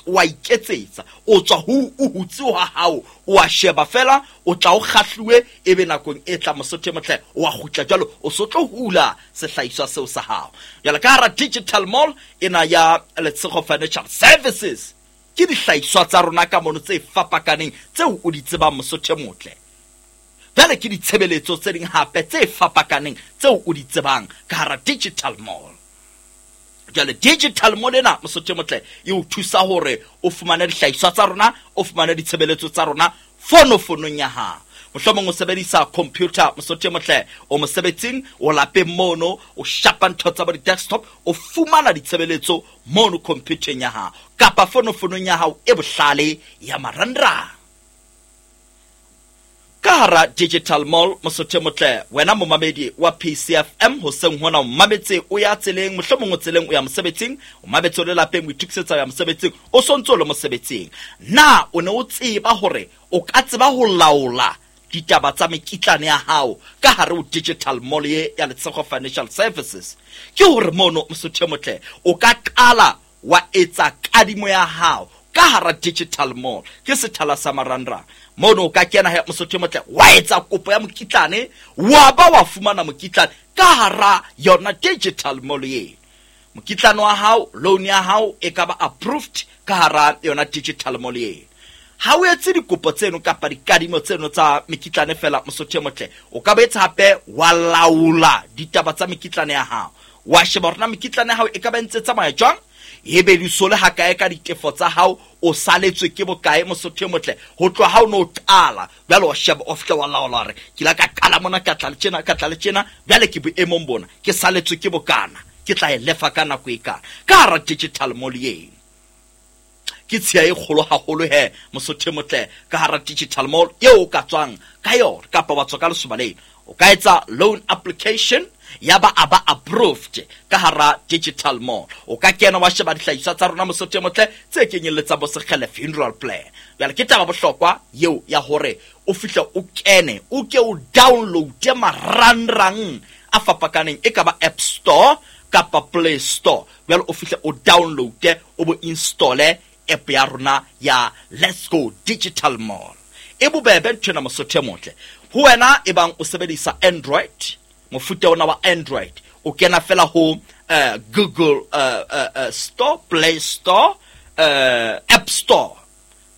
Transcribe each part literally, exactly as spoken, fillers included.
O a iketsetsa, o tswa ho o hutse wa hao, o a sheba fela, o tla o kgahluwe, ebe nakong e tla, mosotho e motle, o a kgutla jwalo, o so tlo hula sehlahiswa seo sa hao. Jwale ka hara digital mall ena ya Letshego Financial Services, ke dihlahiswa tsa rona ka mono tse fapakaneng tseo o di tsebang, mosotho e motle. Jwale ke ditshebeletso tse ding hape tse fapakaneng tseo o di tsebang ka hara digital mall. Jwale digital mall ena, mosotho e motle, e o thusa hore o fumane dihlahiswa tsa rona, o fumane ditshebeletso tsa rona fonofonong ya hao. Mohlomong o sebedisa computer, mosotho e motle, o mosebetsing, o lapeng mono, o shapa ntho tsa bo di-desktop, o fumana ditshebeletso mono computereng ya hao kapa fonofonong ya hao e bohlale ya marangrang. Ka hara digital mall, mosotho e motle, wena momamedi wa P C F M, hoseng hona o mametse o ya tseleng, mohlomong o tseleng o ya mosebetsing, o mametse o le lapeng, o itokisetsa o ya mosebetsing, o sontse o le mosebetsing. Na o ne o tseba hore o ka tseba ho laola ditaba tsa mekitlane ya hao ka hare ho digital mall ye ya Letshego Financial Services? Ke hore mono, mosotho e motle, o ka qala wa etsa kadimo ya hao ka hara digital mall. Ke sethala sa marangrang. Mono o ka kena he, mosotho e motle, wa etsa kopo ya mokitlane, wa ba wa fumana mokitlane ka hara yona digital mall eno. Mokitlane wa hao, loan ya hao e ka ba approved ka hara yona digital mall eno. Ha o etse dikopo tseno kapa dikadimo tseno tsa mekitlane fela, mosotho e motle, o ka boetse hape wa laola ditaba tsa mekitlane ya hao, wa sheba hore na mekitlane ya hao e ka ba ntse tsamaya jwang, ebe di sole hakae ka ditefo tsa hao, o saletswe ke bokae, mosotho e motle, ho tloha ha o no qala. Jwale wa sheba, o fihle wa laola hore ke la ka qala mona, ka tla le tjena, ka tla le tjena, jwale ke boemong bona, ke saletswe ke bokana, ke tla e lefa ka nako e kana ka hara digital mall eno. Ke tshiya e kgolo haholo he, mosotho e motle, ka hara digital mall eo o ka tswang ka yona kapa wa tswa ka lesoba leno. O ka etsa loan application, ya ba a ba approved ka hara digital mall. O ka kena wa sheba dihlahiswa tsa rona, mosotho e motle, tse kenyelletsang bo Sekgele funeral plan. Jwale ke taba bohlokwa eo ya hore o fihle o kene, o ke o downloade marangrang a fapakaneng, e ka ba App Store kapa Play Store. Jwale o fihle o downloade, o bo installe app ya rona ya Let's Go Digital Mall. E bobebe nthwena, mosotho e motle. Ho wena e bang o sebedisa Android, mofuta ona wa Android, o kena fela ho uh, Google uh, uh, uh, Store, Play Store, uh, App Store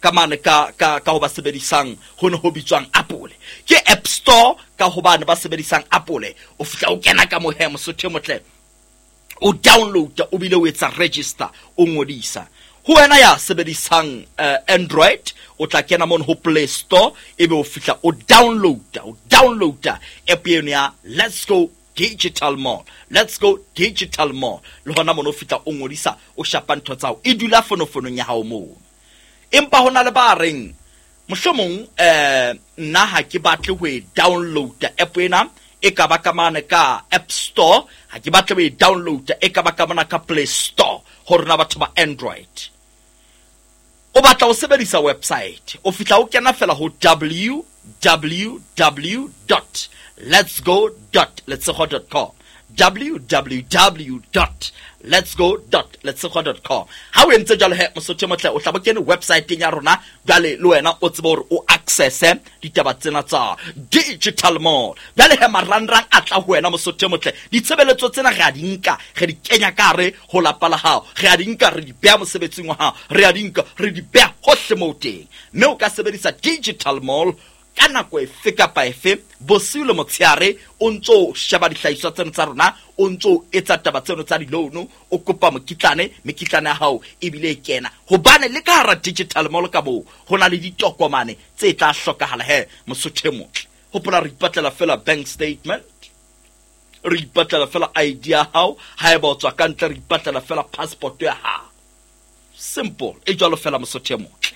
ka mane ka ka ka ho ba sebedisang ho ne ho bitswang Apple, ke App Store ka hobane ba sebedisang Apple. O fihla o kena ka mohe, mosotho e motle, o download, o bile o etsa register, o ngodisa. Ho wena ya sebedisang uh, Android, o tla kena mono ho Play Store, ebe o fihla o download o downloada app eno ya Let's Go Digital Mall, Let's Go Digital Mall. Le hona mono o fihla o ngodisa, o shapa ntho tsa hao, e dula fonofonong ya hao moo. Empa hona le ba reng mohlomong eh nna ha ke batle ho e downloada app ena, e ka ba ka mane ka App Store, ha ke batle ho e downloada, e ka ba ka mona ka Play Store. Ho rona batho ba Android, o batla ho sebedisa website, o fihla o kena fela ho W W W dot letsgo dot letshego dot com, W W W dot letsgo dot letshego dot com. Ha o entse jwalo he, mosotho e motle, o tla bo kene websiteng ya rona. Jwale le wena o tsebe hore o accesse ditaba tsena tsa digital mall. Jwale he, marangrang a tla ho wena, mosotho e motle. Ditshebeletso tsena re a di nka, re di kenya ka hare ho lapa la hao, re a di nka, re di beha mosebetsing wa hao, re a di nka, re di beha hohle moo teng, mme o ka sebedisa digital mall ka nako efe kapa efe, bosiu le motshehare, o ntso o sheba dihlahiswa tseno tsa rona, o ntso o etsa taba tseno tsa di-loan, o kopa mokitlane, mekitlane ya hao ebile e kena, hobane le ka hara digital mall ka moo ho na le ditokomane tse tla hlokahala he, mosotho e motle. Hopola, re ipatlela fela bank statement, re ipatlela fela I D ya hao, haeba o tswa ka ntle, re ipatlela fela passport ya hao. Simple e jwalo fela, mosotho e motle.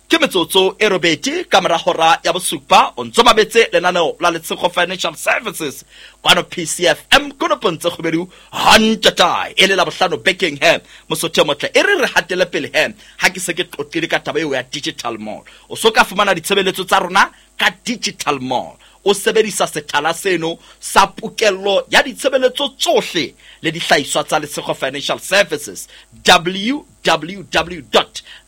Ke metsotso e robedi ka mora hora ya bosupa. O ntso mametse lenaneo la Letshego Financial Services kwano P C F M, konopong tse kgobedu hantatae, e le la bohlano bekeng he, mosotho e motle. E re re hatele pele he, ha ke se ke qoqile ka taba eo ya digital mall. O so ka fumana ditshebeletso tsa rona ka digital mall, o sebedisa sethala seno sa pokello ya ditshebeletso tsohle le dihlahiswa tsa Letshego Financial Services, W W W dot